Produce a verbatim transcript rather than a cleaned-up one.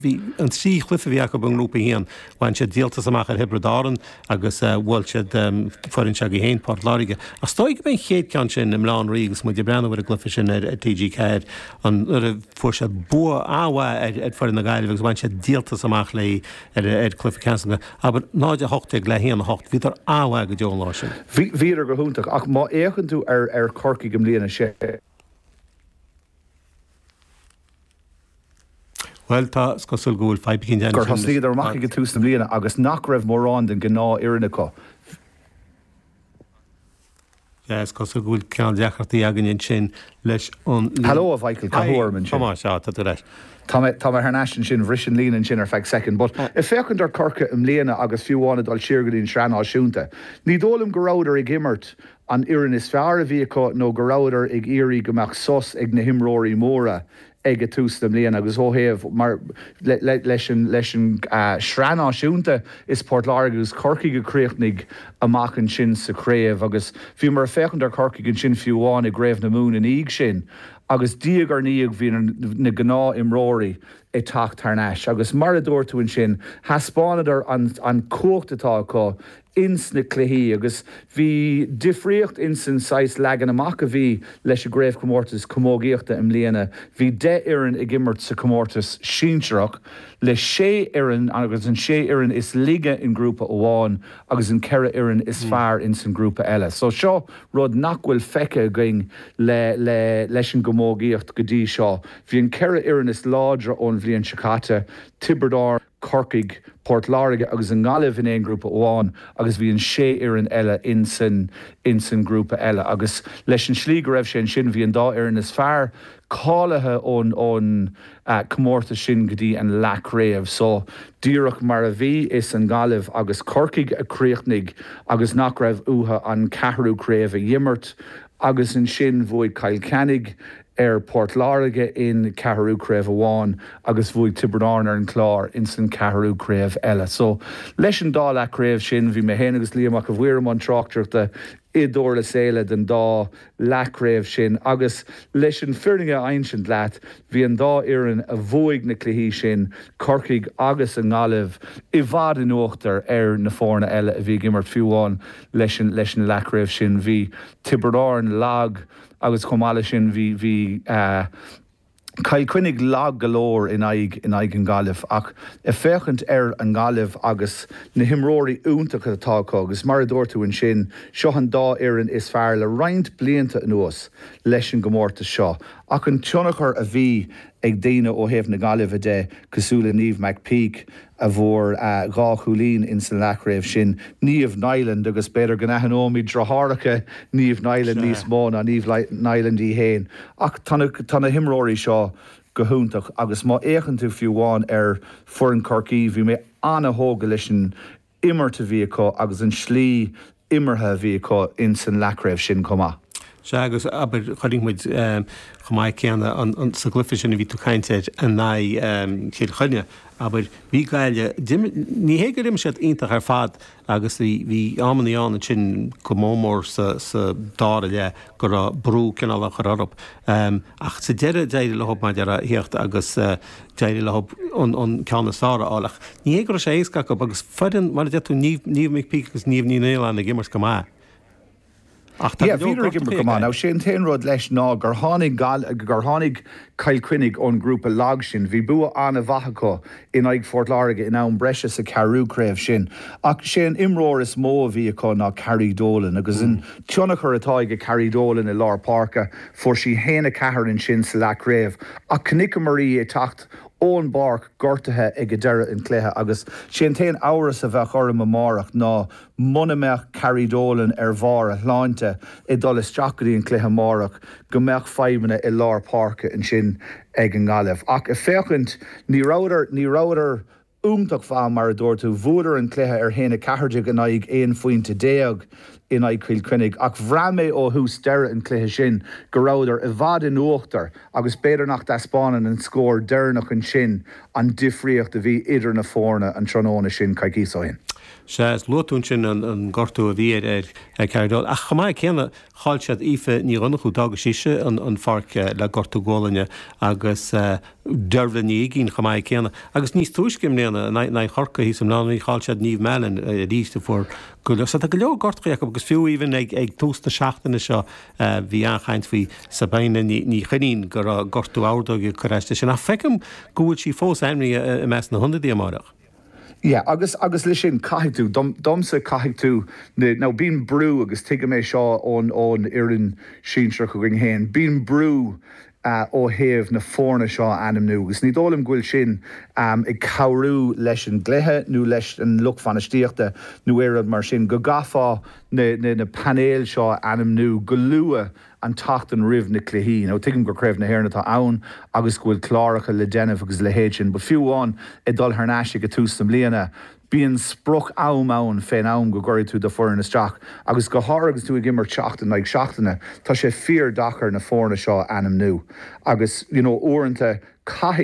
Bhí an trí chluiche a bhí acu i ngrúpa a haon, bhain siad díoltas amach ar Thiobraid Árann agus bhuail siad foireann s'agaibh féin, Port Láirge. Ach is dóigh go b'é an chéad ceann sin i mBaile Átha an Rí agus muid ag breathnú ar an gcluiche sin ar T G ceathair, an nuair a fuair siad bua an-mhaith ar foireann na Gaillimhe agus bhain siad díoltas amach léi ar ar cluiche ceannais na, abair, náid a hocht déag le haon a hocht. Bhíodar an-mhaith go deo an lá sin. Bhíodar go hiontach ach má fhéachann tú ar ar Chorcaigh i mbliana sé Bhuel, tá, is cosúil go bhfuil fadhb éicint gur thosaíodar amach ag tús na bliana agus nach raibh mórán den ghnáthfhoireann acu. Is cosúil go bhfuil cineál deacrachtaí againn ansin leis an líne. Hello, a Mhichael, cá huair ansin? Tá, sea, tá tú ar ais. Tá mé tá mé thar n-ais ansin, bhris an líne ansin ar feadh soicind, but ag féachaint ar Corcaigh i mbliana agus fiú amháin ag dul siar go dtí an Sraith Náisiúnta, ní dóigh liom go rabhadar ag imirt an fhoireann is fearr a bhí acu nó go rabhadar ag iarraidh go mbeadh sos ag na himreoirí móra ag tús na bliana agus ó thaobh mar leis an leis an Sraith Náisiúnta is Port Láirge agus Corcaigh a chríochnaigh amach ansin sa chraobh agus bhíomar ag féachaint ar Corcaigh ansin fiú amháin i gCraobh na Mumhan ina dhiaidh sin agus diaidh ar ndiaidh bhí na gnáthimreoirí ag teacht thar n-ais agus mar a dúirt tú ansin thaispeánadar an an cumhacht atá acu ins na cluichí agus bhí difríocht ins an saghas leagan amach a bhí leis an gcraobhchomórtas camógaíochta i mbliana. Bhí deich fhoireann ag imirt sa chomórtas sinsearach le sé fhoireann agus an sé fhoireann is laige in grúpa amháin agus an ceithre fhoireann is fearr ins an grúpa eile. So seo rud nach bhfuil feicthe againn le le leis an gcamógaíocht go dtí seo. Bhí an ceithre fhoireann is láidre ón bhliain seo caite, Tiobraid Árann, Corcaigh, Port Láirge agus an Ghaillimh in aon grúpa amháin agus bhí an sé fhoireann eile insan insan grúpa eile agus leis an slí go raibh sé ansin bhí an dá fhoireann is fearr cáilithe ón ón comórtas sin go dtí an leathchraobh so díreach mar a bhí is an Ghaillimh agus Corcaigh a chríochnaigh agus nach raibh uathu an ceathrú craobh a dh'imirt agus ansin bhuaigh Cill Chainnigh ar Port Láirge in ceathrú craobh amháin agus bhuaigh Tiobraid Árann ar an Chlár in san ceathrú craobh eile. So leis an dá leathchraobh sin bhí mé féin agus Liam Mac a Mhaoir i mbun tráchtaireachta i dTurlas Éile den dá leathchraobh sin agus leis an bhfírinne a insint leat bhí an dá fhoireann a bhuaigh na cluichí sin Corcaigh agus an Ghaillimh i bhfad in uachtar ar na foirne eile a bhí ag imirt fiú amháin leis an leis an leathchraobh sin bhí Tiobraid Árann lag agus chomh maith leis sin bhí bhí uh, Cill Chainnigh lag go leor in aghaidh in aghaidh an Ghaillimh ach ag féachaint ar an Ghaillimh agus na himreoirí iontacha atá acu agus mar a dúirt tú ansin seo an dá fhoireann is fearr le roinnt blianta anuas leis an gcomórtas seo ach an tionchar a bhí ag daoine ó thaobh na Gaillimhe de cosúil le Niamh McPeak a fuair uh, dhá chúilín in san leathchraobh sin Niamh Nyland agus b'fhéidir go n-aithneoimid deartháireacha Niamh Nyland níos mó ná Niamh Nyland í féin ach tá na himreoirí seo go hiontach agus má fhéachann tú fiú amháin ar foireann Chorcaí bhí mé an-tógtha leis an imirt a bhí acu agus an slí imeartha a bhí acu in san leathchraobh sin chomh maith. Sea agus abair chonaic muid chomh maith céanna sa gcluiche sin a bhí tú ag caint air in aghaidh Chill Chainnigh abair bhí Gaillimh ní hé gur imir siad iontach ar fad agus bhí amanna ann ansin go mór mór sa sa dara leath go raibh brú cineál á chur orthu. Ach sa deireadh d'éirigh leo maidir a theacht agus d'éirigh leo an an ceann is fearr a fháil ach ní hé go raibh sé éasca acu agus foireann mar a deir tú Niamh McPeak agus Niamh Ní Nialláin ag imirt go maith. Ach tá bhíodar ag imirt go maith. Now sé an t-aon rud leis ná gur tháinig gur tháinig Cill Chainnigh ón grúpa lag sin, bhí bua an-mhaith acu in aghaidh Phort Láirge in am breise sa ceathrú craobh sin. Ach sé an imreoir is mó a bhí acu ná Carrie Dolan agus an tionchar atá ag Carrie Dolan i lár páirce fuair sí haon a ceathair ansin sa leathchraobh ach chonaiceamar í ag teacht ón bpáirc gortaithe ag deireadh an chluiche agus sé an t-aon amhras a bheadh orm amárach ná muna mbeadh Carrie Dolan ar bharr a shláinte ag dul isteach go dtí an cluiche amárach go mbeadh fadhbanna i lár páirce ansin ag an nGaillimh. Ach ag féachaint ní rabhadar ní rabhadar iontach mhaith mar a dúirt tú bhuadar an cluiche ar haon a ceathair in aghaidh aon phointe déag in aghaidh Chill Chainnigh ach bhraith mé ó thús deireadh an cluiche sin go rabhadar i bhfad in uachtar agus b'fhéidir nach dtaispeánann an scór deireanach ansin an difríocht a bhí idir na foirne an tráthnóna sin coicís ó shin. Sea, is luaigh tú ansin an gortú a bhí ar ar Carrie Doyle, ach chomh maith céanna chaill siad Aoife Ní Dhonnchú, d'fhág sise an pháirc le gortú gualainne agus Deirbhile Ní Uigín chomh maith céanna. Agus níos túisce i mbliana, in aghaidh Chorcaí thíos i mBleá Cliath, chaill siad Niamh Mallon arís a fuair go leor. So tá go leor gortuithe acu agus fiú even ag ag tús na seachtaine seo bhí an-chaint faoi Sabina Ní Ní Chuinnín go raibh gortú ordóige ag cur as di sin. Ach feicim go bhfuil sí fós ainmnithe i measc na hionadaithe amárach. Yeah, agus agus leis sin caithfidh tú dom, domsa caithfidh tú now bíonn brú agus tuigim é seo ón ón fhoireann sinsearach againn féin, bíonn brú uh, ó thaobh na foirne seo a ainmniú agus ní dóigh liom go bhfuil sin um, ag cabhrú leis an gcluiche nó leis an lucht bainistíochta nó aon rud mar sin go gcaithfeá na, na, na painéil seo a ainmniú go luath an tseachtain roimh na cluichí. Nó tuigim gur Craobh na hÉireann atá ann agus go bhfuil cláracha le déanamh agus leithéid sin, but fiú amháin ag dul thar n-ais ag tús na bliana, bíonn sprioc am ann fén am go gcuirfidh tú do fhoireann isteach agus go háirithe agus tú ag imirt seachtain like seachtaine tá sé fíordeacair na foirne seo ainmniú agus you know uaireanta caithfidh